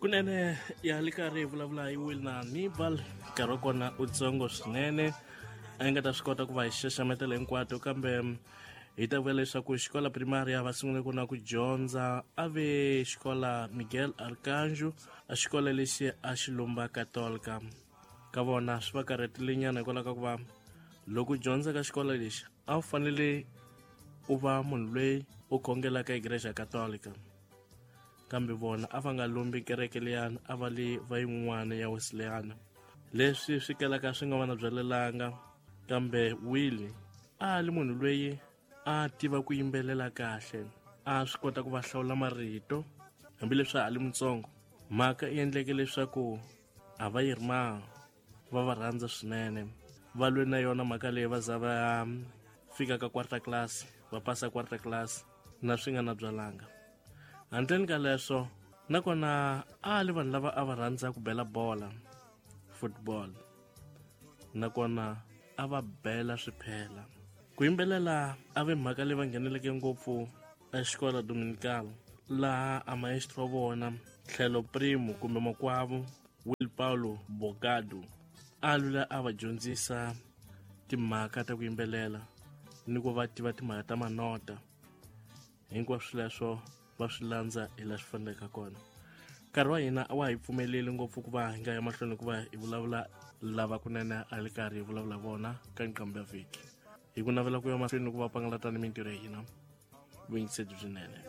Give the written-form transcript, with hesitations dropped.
Kunene ya li karhi hi vulavula hi Wilna Nibal, nkarhi wa kona u tsongo swinene, a yi nga ta swi kota ku va hi xaxametela hinkwato, kambe hi ta vula leswaku xikola primaria va sungule ku na ku dyondza a ve xikola Miguel Arcanjo, a xikola lexi a xi lomba Katolika. Ka vona swi va karhatile nyana hikwalaho ka ku va loko u dyondza ka xikolo lexi a wu fanele u va munhu loyi u khongelaka igreja Katolika, kambe vona a va nga lombi kereke liyani, a va li va yin'wana ya Wesleyana, leswi swi kalaka swi nga va na byalelanga. Kambe Willie a li munhu loyi a tiva ku yimbelela kahle, a swi kota ku va hlawula marito hambileswi a li mutsongo. Mhaka i endleke leswaku a va yi ri ma va va rhandza swinene, va lwe na yona mhaka leyi va za va fika ka quarta class, va pasa quarta class na swi nga na byalanga. Handleni ka leswo, nakona a li vanhu lava a va rhandza ku bela bola, football, nakona a va bela swiphela. Ku yimbelela a ve mhaka leyi va ngheneleke ngopfu exikola Dominical, laha a maestro wa vona tlhelo primo kumbe makwavo Will Paulo Bogado a lula a va dyondzisa timhaka ta ku yimbelela ni ku va tiva timhaka ta manota. Hinkwaswo leswo va swi landza hi laha swi faneleke kona. Nkarhi wa hina a wa hi pfumeleli ngopfu ku va hi nga ya mahlweni ku va hi vulavula lava kunene a li karhi hi vulavula vona ka nqambi ya vhiki. Hi ku navela ku ya mahlweni ku va pangalata ni mintirho ya hina, vuyingiseri byinene.